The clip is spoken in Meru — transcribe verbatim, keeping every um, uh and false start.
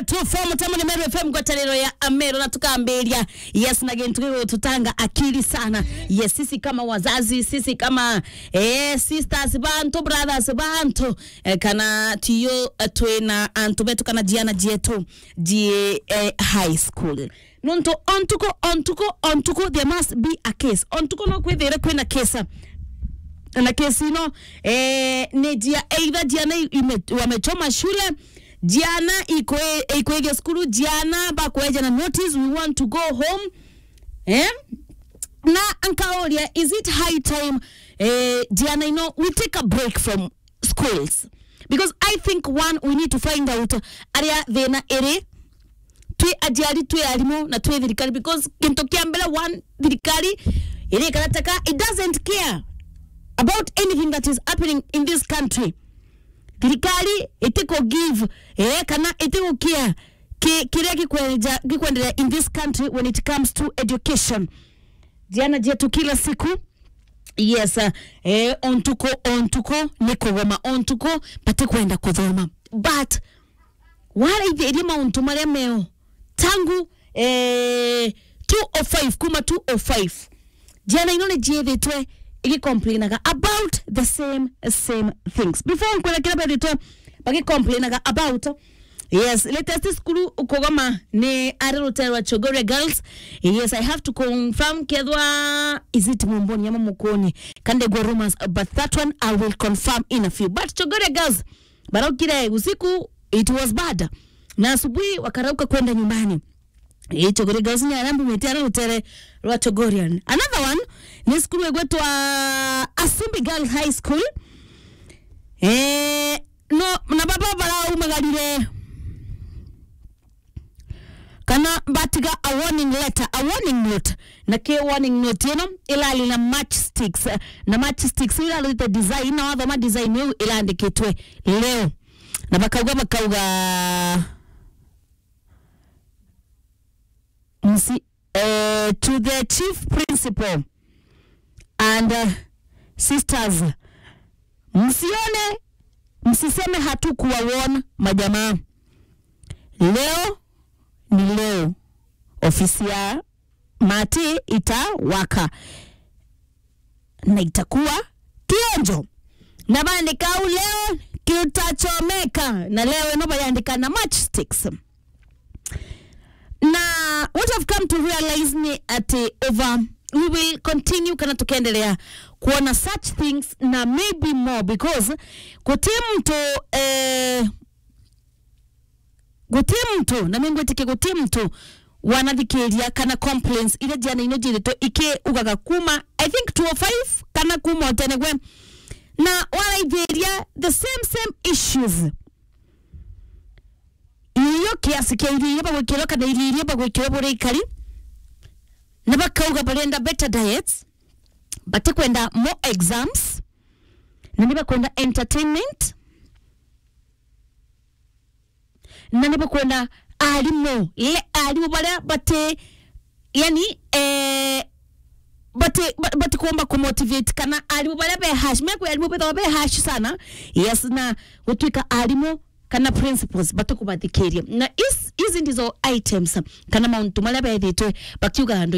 two four, Mutemo ni Meru F M, ngwataniro ya Ameru, na tukambiria, yes, na gintu gigututanga akili sana. Yes, sisi kama wazazi, sisi kama, eh, sisters bantu, brothers bantu, eh, kana tiyo, eh, twina antu betu kana ciana cietu cie, eh, high school. Nontu o ntuku, o ntuku, o ntuku, there must be a case. O ntuku no kwithire kwina case. Na case ino, eh, ni cia either ciana i-, ime-, wamechoma shule, ciana ikwe-, ikwithia cukuru, ciana bakweja na notice, "We want to go home." Eh? Na nkauria, is it high time, eh, ciana ino, we take a break from schools? Because I think, one, we need to find out aria thina iri, twi aciari, twi arimu, na twi thirikari, because gintu kia mbere, one, thirikari iri karataka, it doesn't care about anything that is happening in this country. Thirikari itiku give, eh, kana itiku care ki-, kiria gikwenja-, gikwendelea in this country when it comes to education. Ciana cietu kila siku, yes, uh, eh, o ntuku, o ntuku ni kugoma, o ntuku batikwenda kuthoma. But waraithiria mauntu maria meo tangu, eh, two oh five, kuma two oh five, ciana ino ni ciithitwe igicomplainaga about the same, same things. Before nkwira kiria bethitwe bagicomplainaga about, yes, latest cukuru ukugoma ni ari rutere rwa Chogoria Girls. Yes, I have to confirm kethwa is it Mumboni ama Mukoni. Kande gwa rumors, but that one I will confirm in a few. But Chogoria Girls, baraukire usiku, it was bad. Na asubuhi wakarauka kwenda nyumbani. Ii, Chogoria Girls ni aria mbumite aria rutere rwa Chogoria. Another one ni cukuru igwitwa Asumbi Girls High School. Eh, no, na baba baraumagarire kana batiga a warning letter, a warning note. Na ki warning note ino irari na matchsticks, eh, na matchsticks iu irarite design, na wathoma design iu irandikitwe leo. Na bakauga, bakauga, msi-, eh, to the chief principal and, eh, sisters, msione, msiseme hatukuwa warn majamaa. Leo ni leo. Ofisi ya Mati itawaka na itakuwa kionjo. Na bandika au, leo kitachomeka, na leo ino bayandika na matchsticks. Na what I've come to realize ni ati over, we will continue kana tukendelea kuona such things na maybe more, because guti muntu, eh, guti muntu, na ningwitikia guti muntu wanathikiria kana complaints iria ciana ino ciithitwe ikiugaga kuma, I think, two oh five kana kuma o tene gwe, na waraithiria the same, same issues. Irio, kiasi kia irio iria bagwikirwa kana irio iria bagwikirwa buria ikari, na bakauga barenda better diets, batikwenda more exams, na ni bakwenda entertainment, na ni bakwenda arimu, le arimu baria bati, yani, eh, bati, ba-, batikumba kumotivate, kana arimu baria be harsh, mekwi arimu bethagwa be harsh sana, yes, na gutwika arimu kana principals batikubathikiria. Na is-, ici ndizo items kana mauntu maria bethitwe bakiuga andu